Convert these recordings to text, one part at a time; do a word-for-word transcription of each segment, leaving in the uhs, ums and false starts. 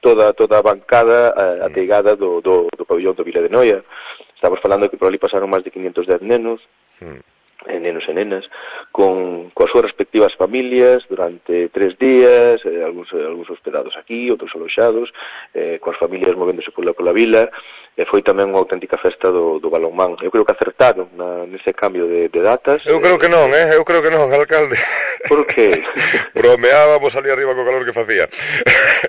toda toda a bancada uh, ateigada do, do, do pabillón do Vila de Noia. Estamos falando que por ali pasaron máis de quinientos dez nenos, mm. nenos e nenas, con coas súas respectivas familias durante tres días, eh, algúns, algúns hospedados aquí, outros aloxados, eh, coas familias movéndose pola, pola vila, e foi tamén unha auténtica festa do, do balonmán. Eu creo que acertaron na, nese cambio de, de datas. Eu creo que non, eh? Eu creo que non, alcalde. Por que? Bromeábamos ali arriba co calor que facía.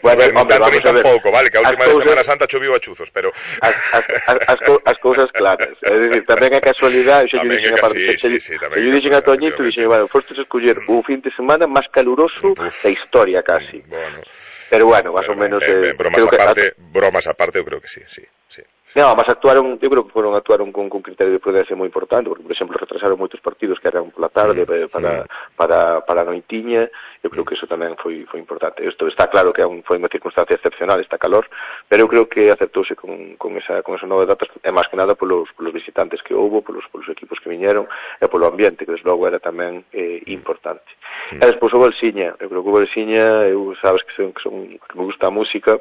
Bueno, ver, hombre, tanto ni tampouco, vale, que a última de Semana Santa choviu a chuzos, pero... As, as, as, as, as cousas claras. É dicir, tamén a casualidade, eu tamén dixen é aparte, que sí, sí, sí, tamén eu dixen a Toñito, dixen, bueno, fostes escoller o fin de semana máis caluroso da historia, casi. Bueno... Pero bueno, más o menos... Eh, eh, bromas aparte, que... bromas aparte, eu creo que sí, sí, sí. No, mas actuaron, eu creo que foron actuaron con, con criterio de prudencia moi importante, porque, por exemplo, retrasaron moitos partidos que eran pola tarde mm, para, mm. para, para a noitiña. Eu creo que eso tamén foi, foi importante. Isto está claro que foi unha circunstancia excepcional, esta calor, pero eu creo que acertouse con, con, esa, con esa nova datas, e máis que nada polos, polos visitantes que houbo, polos, polos equipos que viñeron, e polo ambiente, que desde logo era tamén eh, importante. Mm. E despois o Balsiña, eu creo que o Balsiña, eu sabes que, son, que, son, que me gusta a música,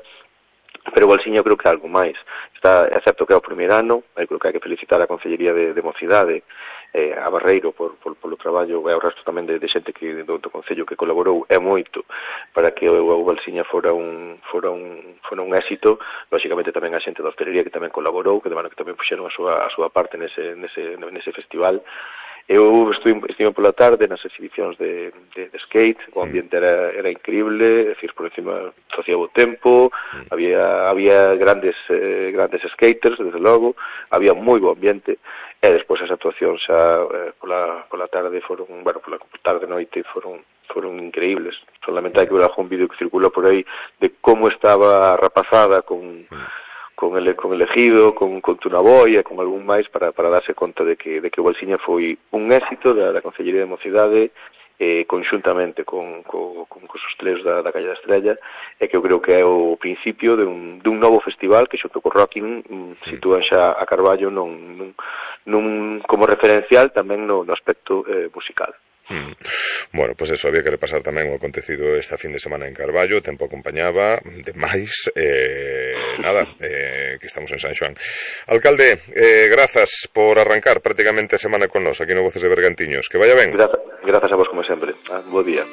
pero o Balsiña eu creo que é algo máis. Está, é certo que é o primeiro ano, eu creo que hai que felicitar a Concellería de, de Mocidade, eh, a Barreiro por, por, polo traballo, e ao resto tamén de, de xente que, do, do Concello que colaborou é moito para que o, o Balsiña fora un, fora un, fora un éxito. Lóxicamente tamén a xente da hostelería que tamén colaborou, que, bueno, que tamén puxeron a súa, a súa parte nese, nese, nese festival. Eu estive, estive pola tarde nas exhibicións de, de, de skate, o ambiente era, era increíble, é dicir, por encima facía bo tempo, mm. había, había grandes eh, grandes skaters, desde logo, había moi bo ambiente, e despois as actuacións xa eh, pola, pola tarde foron, bueno, pola tarde noite foron foron increíbles. Solamente hai que ver algún vídeo que circula por aí de como estaba rapazada con... Mm. con el, con el Ejido, con, con Tunaboia, con algún máis, para, para darse conta de que, de que o Balsiña foi un éxito da, da Concellería de Mocidade, eh, conxuntamente con, con, con, con os hosteleiros da, da Calle da Estrella, e que eu creo que é o principio de un, de un novo festival que xunto co Rocking um, sitúan xa a Carballo non, nun, nun, como referencial tamén no, no aspecto eh, musical. Mm. Bueno, pois pues eso, había que repasar tamén o acontecido esta fin de semana en Carballo, o tempo acompañaba, demais, eh, nada, eh, que estamos en San Xoán. Alcalde, eh, grazas por arrancar prácticamente a semana con nos aquí no Voces de Bergantiños, que vaya ben. Grazas, grazas a vos como sempre, ah, bo día.